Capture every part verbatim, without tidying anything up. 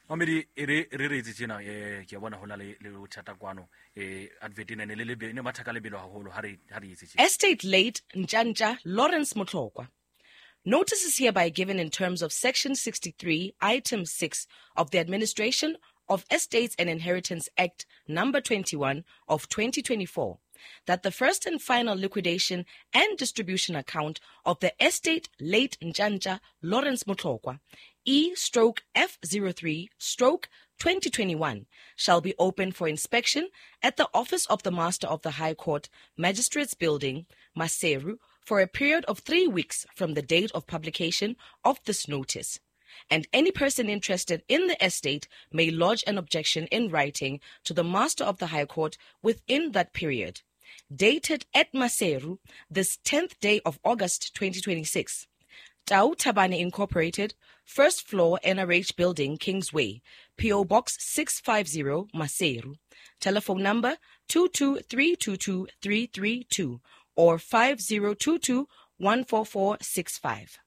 Mamedi e re re re itse tjena eh ke a bona hona le le bothata kwano eh advert ena ne le lebe ne batha ka lebelo haholo ha re ha re itse tjena. Estate late Ntjantja Lawrence Motlokwa. Notice is hereby given in terms of Section sixty-three, Item six of the Administration of Estates and Inheritance Act Number twenty-one of twenty twenty-four, that the first and final liquidation and distribution account of the estate late Ntjantja Lawrence Motlokwa, E stroke F zero three stroke twenty twenty-one, shall be open for inspection at the office of the Master of the High Court, Magistrates Building, Maseru, for a period of three weeks from the date of publication of this notice. And any person interested in the estate may lodge an objection in writing to the Master of the High Court within that period. Dated at Maseru, this tenth day of August twenty twenty-six. Tau Tabane Incorporated, first floor N R H Building, Kingsway, P O Box six five zero, Maseru. Telephone number two two three two two three three two or five zero two two one four four six five.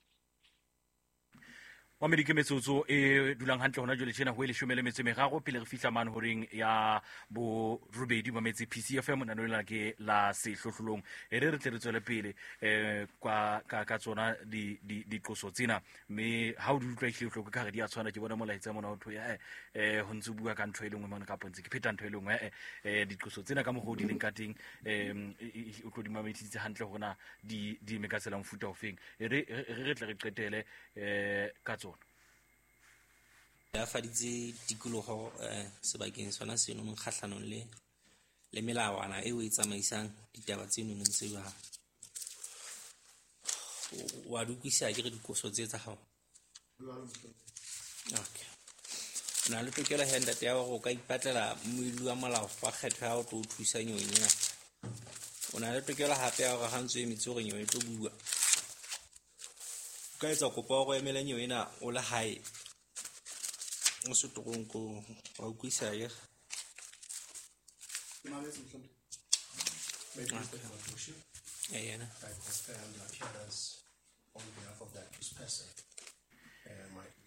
Mamedi ke metsotso e dulang hantle hona jwale tjena ho e leshome le metso e meraro pele re fihla mane horeng ya borobedi mametse P C F M nano lena ke la sehlohlolong e re re tle re tswele pele eh kwa ka ka tsona di di diqoso tsena mme ha o di utlwa ehlile o ka re di a tshwana ke bona molaetsa mona ho thwe eh eh ho ntse bua ka ntho e lengwe mona ka pontse ke pheta ntho e lengwe eh eh diqoso tsena ka mokgwa o di leng ka teng eh o tlo di mamedisitse hantle hore na di di eme ka tsela mofuta ofeng e re re tle re qetele eh ka tsona. Ya faditse tikoloho eh sebakeng sona seno mo kgahlanong le le melawana eo e tsamaisang ditaba tseno ntse ba wa di utlwisisa ke re dikoso tse tsa hao. Okay. Na le tokelo he ntate ya hore o ka ipatlela moeli wa molao wa kgetho ya ho tlo o thusa nyeweng ena. O na le tokelo hape ya hore ha ntso emetse hore nyewe e tlo bua. O ka etsa kopo ya hore o emele nyewe ena o le hae. O se toronkong, wa utlwisisa akere? Eh, yena.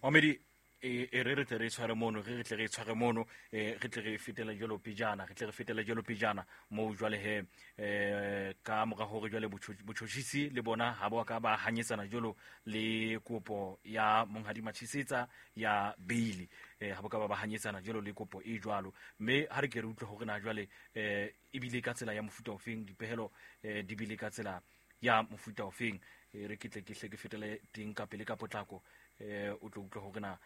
Mamedi e e re re tle re tshware mono re re tle re tshware mono eh re tle re fetela jwalo pejana re tle re fetela jwalo pejana mo jwale he eh ka mora hore jwale botjhotjhisi le bona ha ba ka ba hanyetsana jwalo le kopo ya monghadi Matshisetsa ya bail eh ha ba ka ba ba hanyetsana jwalo le kopo e jwalo mme ha re ke re utlwe hore na jwale eh e bile ka tsela ya mofuta ofeng dipehelo eh di bile ka tsela ya mofuta ofeng re ke tle ke hle ke fetele teng ka pele ka potlako eh o tlo utlwa hore na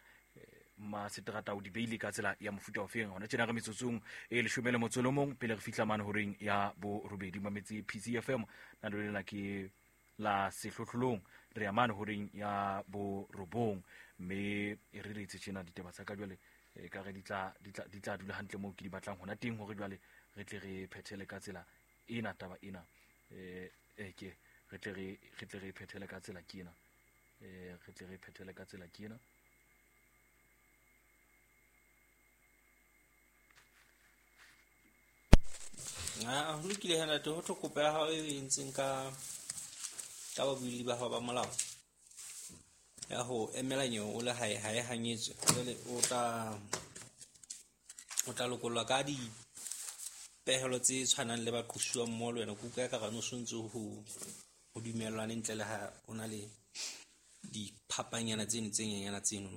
ma seterata o di beile ka tsela ya mofuta ofeng hona tjena re metsotsong e leshome le motso le mong pele re fihla mane horeng ya borobedi mametse P C F M na le lena ke la sehlohlolong re ya mane horeng ya borobong mme e re re itse tjena ditaba tsa ka jwale e ka re di tla di tla di tla dula hantle moo ke di batlang hona teng hore jwale re tle re phethele ka tsela ena taba ena eh e ke re tle re re tle re phethele ka tsela ke ena eh re tle re phethele ka tsela ke ena. Ah, ho lokile he ntate, ho thwe kopo ya hao e entseng ka ka babuelli ba hao ba molao ya ho emela nyewe o le hae ha e hanyetswe. Jwale o tla o tla lokollwa ka dipehelo tse tshwanang le baqosuwa mmoho le wena. Ke utlwa ekare no sontse ho ho dumellwane ntle le ha o na le diphapanyana tseno tse nyenyana tseno.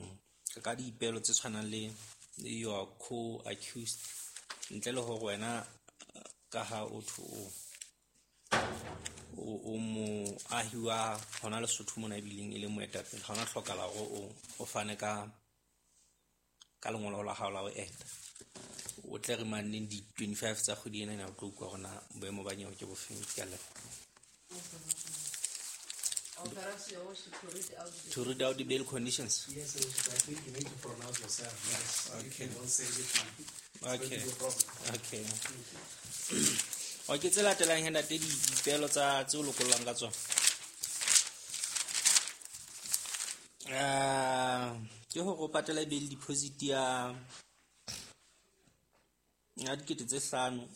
Ka dipehelo tse tshwanang le your co-accused ntle le hore wena ka ha o thwe o o moahi wa hona Lesotho mona ebileng e le moetapele, ha ona hlokahala hore o o fane ka ka lengolo la hao la ho eta. O tle re maneng di twenty-five tsa kgwedi ena ena o tlo utlwa hore na boemo ba nyewe ke bofeng. Ke a leboha. To read out the bail conditions. Yes, I think you need to pronounce yourself. Yes. Okay. You don't say it. Okay. Okay. Okay, tse latelang he ntate dipehelo tsa tse o lokollang ka tsona. Ah, ke hore o patale bail deposit ya ya dikete tse hlano.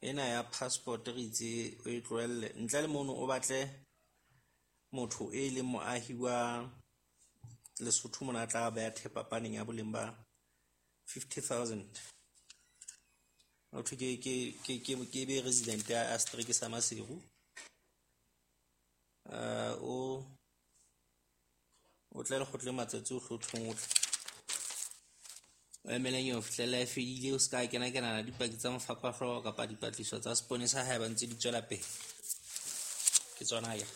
Ena ya passport re itse o e tlohelle ntle le mono o batle motho e leng moahi wa Lesotho mona a tla beha thepa paneng ya boleng ba fifty thousand. Ho thwe ke ke ke ke ke be resident ya setereke sa Maseru. Uh, o o tla lekgotleng matsatsi ohle o thong o tle. O emele nyewe ho fihlella e fedile, o ska kena kenana dipaki tsa mafapahloho kapa dipatlisiso tsa seponesa haeba ntse di tswela pele. Ke tsona akere.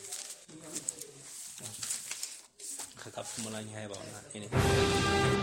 Re ka phomolang haeba ona.